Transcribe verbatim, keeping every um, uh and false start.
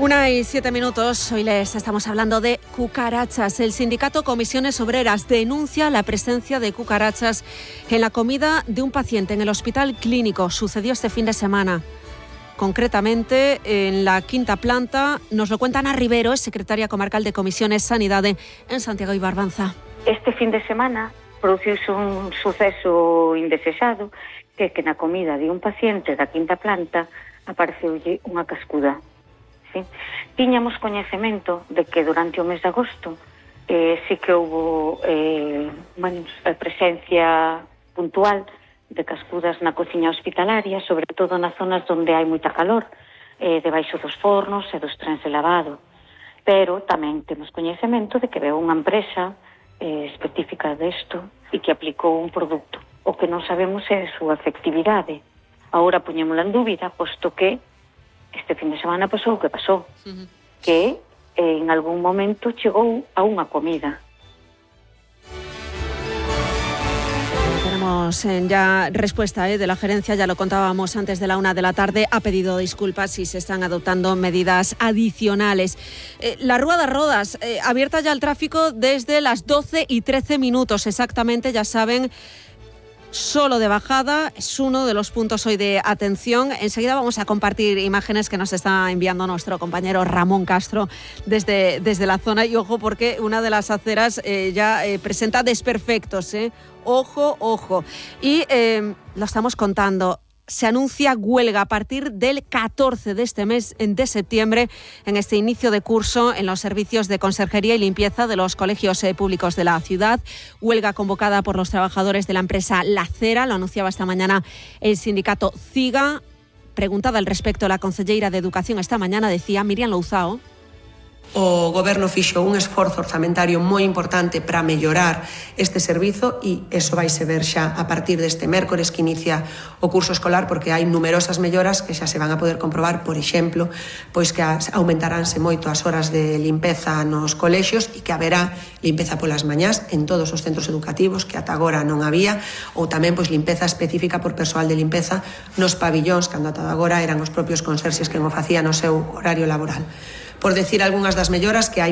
Una y siete minutos, hoy les estamos hablando de cucarachas. El sindicato Comisiones Obreras denuncia la presencia de cucarachas en la comida de un paciente en el Hospital Clínico. Sucedió este fin de semana. Concretamente, en la quinta planta, nos lo cuenta Ana Rivero, es secretaria comarcal de Comisiones Sanidade en Santiago y Barbanza. Este fin de semana produciuse un suceso indesexado, que é que na comida de un paciente da quinta planta apareceulle unha cascuda. Sí. Tiñamos coñecemento de que durante o mes de agosto eh, sí que houve eh, bueno, presencia puntual de cascudas na cociña hospitalaria, sobre todo nas zonas onde hai moita calor, eh, debaixo dos fornos e dos trens de lavado. Pero tamén temos coñecemento de que veu unha empresa eh, específica desto e que aplicou un produto. O que non sabemos é a súa efectividade. Agora poñémola en dúbida, posto que este fin de semana pasou o que pasou, uh-huh. que eh, en algún momento chegou a unha comida. Tenemos eh, ya respuesta eh, de la gerencia, ya lo contábamos antes de la una de la tarde, ha pedido disculpas si se están adoptando medidas adicionales. Eh, la Rúa das Rodas, eh, abierta ya al tráfico desde las doce y trece minutos exactamente, ya saben. Solo de bajada, es uno de los puntos hoy de atención. Enseguida vamos a compartir imágenes que nos está enviando nuestro compañero Ramón Castro desde, desde la zona. Y ojo, porque una de las aceras eh, ya eh, presenta desperfectos. ¿eh? Ojo, ojo. Y eh, lo estamos contando. Se anuncia huelga a partir del catorce de este mes de septiembre en este inicio de curso en los servicios de conserjería y limpieza de los colegios eh, públicos de la ciudad. Huelga convocada por los trabajadores de la empresa La Cera, lo anunciaba esta mañana el sindicato CIGA. Preguntada al respecto, la concelleira de Educación esta mañana decía, Miriam Louzao. O Goberno fixo un esforzo orzamentario moi importante para mellorar este servizo e eso vaise ver xa a partir deste mércores que inicia o curso escolar, porque hai numerosas melloras que xa se van a poder comprobar, por exemplo, pois que aumentaránse moito as horas de limpeza nos colexios e que haberá limpeza polas mañás en todos os centros educativos que ata agora non había, ou tamén pois limpeza específica por persoal de limpeza nos pabillóns, cando ata agora eran os propios conserxes que o facían no seu horario laboral. Por decir algunhas das melloras que hai